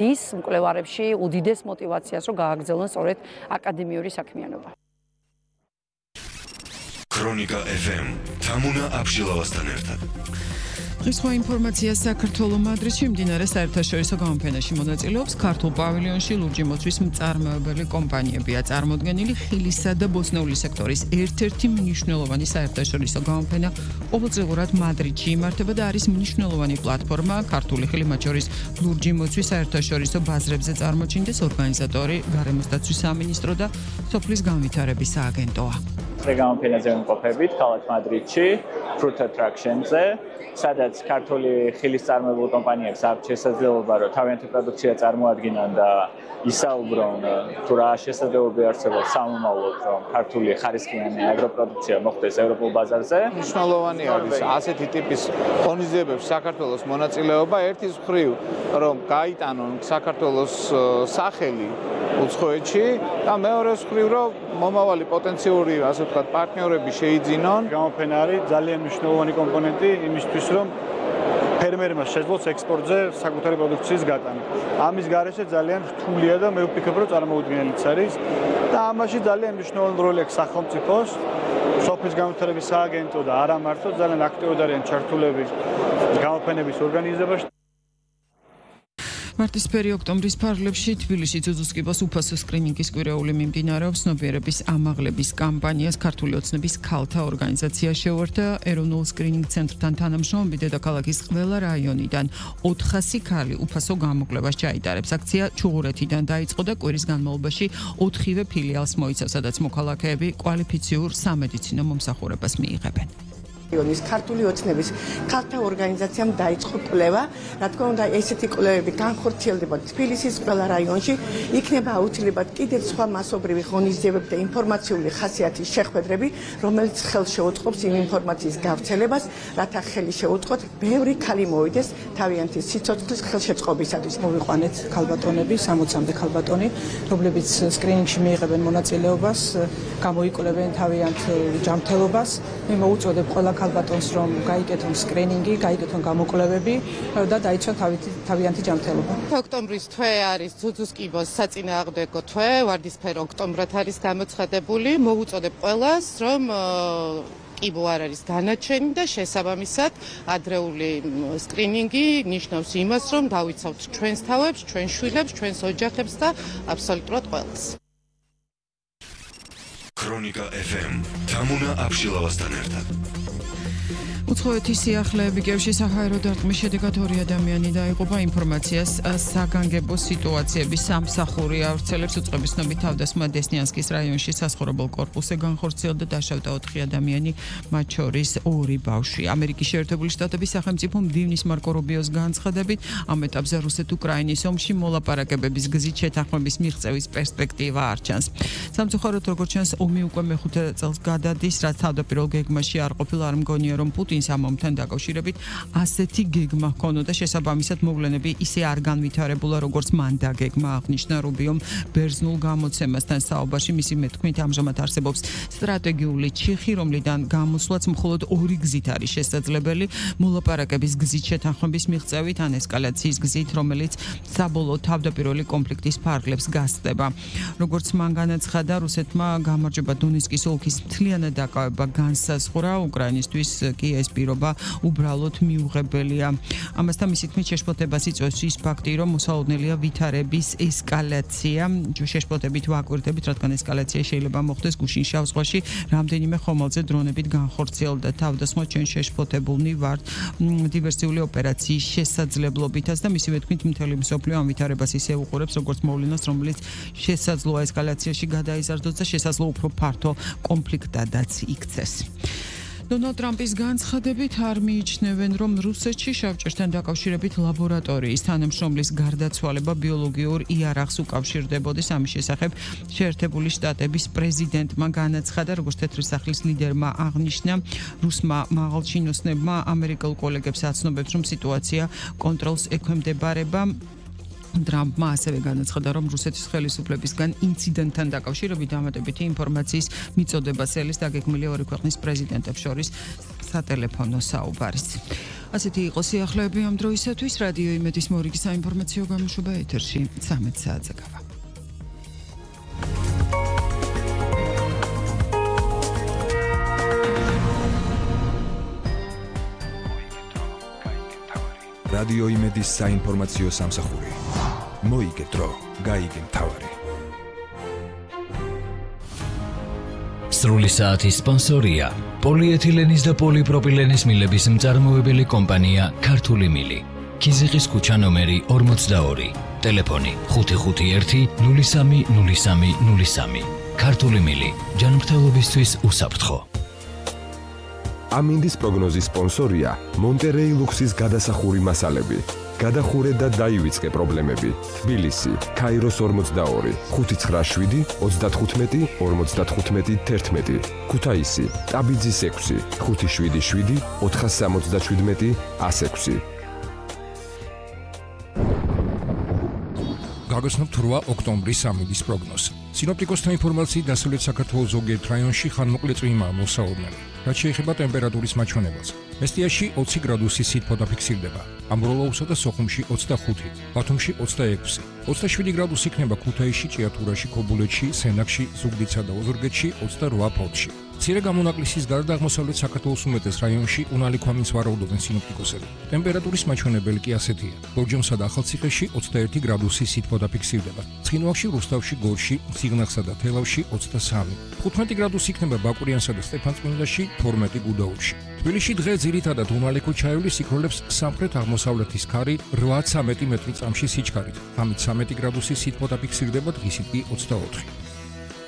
ის მკვლევარებში უდიდეს мотивაციას რომ გააგრძელონ სწორედ აკადემიური საქმიანობა. ქრონიკა FM თამუნა აბშილავასთან ერთად. დღის სხვა ინფორმაცია საქართველოს მადრიდში მიმდინარე საერთაშორისო გამოფენაში მონაწილეობს ქართულ პავილიონში ლურჯი მოცვის მწარმოებელი კომპანიებია. წარმოდგენილი ხილისა და ბოსტნეული სექტორის ერთ-ერთი მნიშვნელოვანი საერთაშორისო გამოფენა ყოველწლიურად მადრიდში იმართება და არის მნიშვნელოვანი პლატფორმა ქართული ხილი, მათ შორის ლურჯი მოცვის საერთაშორისო ბაზრებზე წარმოჩინდეს ორგანიზატორი გარემოსდაცვის სამინისტრო და სოფლის განვითარების სააგენტოა. გამოფენაზე ვიმყოფებით ქალაქ მადრიდში, Fruit Attraction-ზე, სადაც ქართული ხილის წარმოებულ კომპანიებს აქვს შესაძლებლობა, რომ თავიანთი პროდუქცია წარმოადგინონ და ისაუბრონ, თუ რა შესაძლებლობები არსებობს სამომავლოდ, რომ ქართული ხარისხიანი აგროპროდუქცია მოხვდეს ევროპულ ბაზარზე. მნიშვნელოვანი არის ასეთი ტიპის ღონისძიებებში საქართველოს მონაწილეობა, ერთის მხრივ, რომ გაიტანონ საქართველოს სახელი უცხოეთში და მეორეს მხრივ, რომ მომავალი პოტენციური, ასე ვთქვათ, პარტნიორები შეიძინონ. გამოფენა არის ძალიან მნიშვნელოვანი კომპონენტი იმისთვის, რომ ფერმერმა შეძლოს ექსპორტზე საკუთარი პროდუქციის გატანა. ამის გარეშე ძალიან რთულია და მე ვფიქრობ, რომ წარმოუდგენელიც არის და ამაში ძალიან მნიშვნელოვანი როლი აქვს სახელმწიფოს, სოფლის განვითარების სააგენტო და არა მარტო ძალიან აქტიურად არიან ჩართულები გამოფენების ორგანიზებაში. მარტისფერი ოქტომბრის ფარგლებში თბილისში ძუძუსკიბოს უფასო სკრინინგის კვირეული მიმდინარეობს. ცნობიერების ამაღლების კამპანიას ქართული ოცნების ქალთა ორგანიზაცია შეუერთდა. ეროვნულ სკრინინგ ცენტრთან თანამშრომლობით დედაქალაქის ყველა რაიონიდან 400 ქალი უფასო გამოკვლევას ჩაიტარებს. აქცია ჩუღურეთიდან დაიწყო და კვირის განმავლობაში 4-ვე ფილიალს მოიცავს, სადაც მოქალაქეები კვალიფიციურ სამედიცინო მომსახურებას მიიღებენ. ქართული ოცნების ქალთა ორგანიზაციამ დაიწყო კვლევა, რა თქმა უნდა, ესეთი კვლევები განხორციელდება თბილისის ყველა რაიონში, იქნება აუცილებლად კიდევ სხვა მასობრივი ღონისძიებები და ინფორმაციული ხასიათის შეხვედრები, რომელიც ხელს შეუწყობს იმ ინფორმაციის გავრცელებას, რათა ხელი შეუწყოთ ბევრი ქალი მოვიდეს თავიანთი სიცოცხლის ხელშეწყობისათვის. მოვიყვანეთ ქალბატონები, 60-მდე ქალბატონი, რომლებიც სკრინინგში მიიღებენ მონაწილეობას, გამოიკვლევენ თავიანთ ჯანმრთელობას. მე მოუწოდებ ყველა ქალბატონს, რომ გაიკეთონ სკრინინგი, გაიკეთონ გამოკვლევები და დაიცვან თავიანთი ჯანმრთელობა. ოქტომბრის თვე არის ძუძუსკიბოს საწინააღმდეგო თვე, ვარდისფერ ოქტომბრად არის გამოცხადებული. მოვუწოდებ ყველას, რომ კიბო არ არის განაჩენი და შესაბამისად ადრეული სკრინინგი ნიშნავს იმას, რომ დავიცავთ ჩვენს თავებს, ჩვენს შვილებს, ჩვენს ოჯახებს და აბსოლუტურად ყველას. ქრონიკა FM თამუნა აბშილავასთან ერთად. უცხოეთის სიახლეები გევში საჰაერო დარტყმის შედეგად 2 ადამიანი დაიღუპა. ინფორმაციას საგანგებო სიტუაციების სამსახური ავრცელებს. უწყების ცნობით თავდასხმა დესნიანსკის რაიონში სასაცხოვრებელ კორპუსზე განხორციელდა, დაშავდა 4 ადამიანი, მათ შორის 2 ბავშვი. ამერიკის შეერთებული შტატების სახელმწიფო მდივნის მარკო რუბიოს განცხადებით, ამ ეტაპზე რუსეთ-უკრაინის ომში მოლაპარაკებების გზით შეთანხმების მიღწევის პერსპექტივა არ ჩანს. სამწუხაროდ, როგორც ჩანს, ომი უკვე მეხუთე წელს გადადის, რაც თავდაპირველ გეგმაში არ ყოფილა. არ მგონია, რომ პუტინს ამ ომთან დაკავშირებით ასეთი გეგმა ჰქონოდა. შესაბამისად, მოვლენები ისე არ განვითარებულა, როგორც მან დაგეგმა, აღნიშნა რუბიომ ბერძნულ გამოცემასთან საუბარში. მისი მეთქმით, ამჟამად არსებობს სტრატეგიული ჩიხი, რომლიდან გამოსვლაც მხოლოდ 2 გზით არის შესაძლებელი: მოლაპარაკების გზით შეთანხმების მიღწევით ან ესკალაციის გზით, რომელიც საბოლოოდ თავდაპირველი კონფლიქტის ფარგლებს გასწდება. როგორც მან განაცხადა, რუსეთმა გამარჯვება დონეცკის ოლქის მთლიანად დაკავება განსაზღვრა, უკრაინისთვის კი ეს პირობა უბრალოდ მიუღებელია. ამასთან მისი თქმით, შეშფოთებას იწვევს ის ფაქტი, რომ მოსალოდნელია ვითარების ესკალაცია. შეშფოთებით ვაკვირდებით, რადგან ესკალაცია შეიძლება მოხდეს გუშინ შავ ზღვაში, რამდენიმე ხომალდზე დრონებით განხორციელდა თავდასხმა. ჩვენ შეშფოთებულნი ვართ დივერსიული ოპერაციის შესაძლებლობითაც და მისივე თქმით, მთელი მსოფლიო ამ ვითარებას ისე უყურებს, როგორც მოვლენას, რომელიც შესაძლოა ესკალაციაში გადაიზარდოს და შესაძლოა უფრო ფართო კონფლიქტადაც იქცეს. დონალდ ტრამპის განცხადებით არ მიიჩნევენ, რომ რუსეთში შავჭერთან დაკავშირებით ლაბორატორიის თანამშრომლის გარდაცვალება ბიოლოგიურ იარაღს უკავშირდებოდეს. ამის შესახებ შეერთებული შტატების პრეზიდენტმა განაცხადა, როგორც თეთრი სახლის ლიდერმა აღნიშნა, რუსმა მაღალჩინოსნებმა ამერიკელ კოლეგებს აცნობებს, რომ სიტუაცია კონტროლს ექვემდებარება. ტრამპმა ასევე განაცხადა, რომ რუსეთის ხელისუფლებისგან ინციდენტთან დაკავშირებით დამატებითი ინფორმაციის მიწოდებას ელის დაგეგმილია 2 ქვეყნის პრეზიდენტებს შორის სატელეფონო საუბარიც. ასეთი იყო სიახლეები ამ დროისათვის. რადიო იმედის მორიგი საინფორმაციო გამოშვება ეთერში 13 საათზე გავა. რადიო იმედის საინფორმაციო სამსახური. მოიგე დრო, გაიგე მთავარი. სრული საათის სპონსორია პოლიეთილენის და პოლიპროპილენის მილების მწარმოებელი კომპანია ქართული მილი. ქიზიყის ქუჩა ნომერი 42. ტელეფონი 551 03 03 03. ქართული მილი. ჯანმრთელობისთვის უსაფრთხო. ამინდის პროგნოზის სპონსორია მონტერეი ლუქსის გადასახური მასალები. გადახურე და დაივიწყე პრობლემები. თბილისი, ქაიროს 42, 597 35 55 11. ქუთაისი, ტაბიძის 6, 577 477 106. გაგოსნობთ 8 ოქტომბრის ამინდის პროგნოზი. სინოპტიკოსთა ინფორმაციით დასავლეთ საქართველოს ზოგიერთ რაიონში ხანმოკლე წვიმაა მოსაუბნელი. რაც შეეხება ტემპერატურის მაჩვენებელს. მესტიაში 20 გრადუსი სითბო დაფიქსირდება. ამბროლაუსა და სოხუმში 25, ბათუმში 26, 27 გრადუსი იქნება ქუთაისში, ჭიათურაში, ქობულეთში, სენაკში, ზუგდიდსა და ოზურგეთში 28 ფოთში. მცირე გამონაკლისის გარდა აღმოსავლეთ საქართველოს უმეტეს რაიონში უნალი ქვამინს ვარაუდობენ სინოპტიკოსები. ტემპერატურის მაჩვენებელი კი ასეთია. ლორჯომსა და ახალციხეში 21 გრადუსი სითბო დაფიქსირდება. ცხინვალში, რუსთავში, გორში, ციგნახსა და თელავში 23, 15 გრადუსი იქნება ბაკურიანსა და სტეფანწმინდაში, 12 გუდაუთში. თბილისში დღე ძირითადად უნალი ქუჩაევლის იქროლებს სამხრეთ აღმოსავლეთის ქარი 8-13 მეტრი წამში სიჩქარით. 13 გრადუსი სითბო დაფიქსირდება, დღისით კი 24.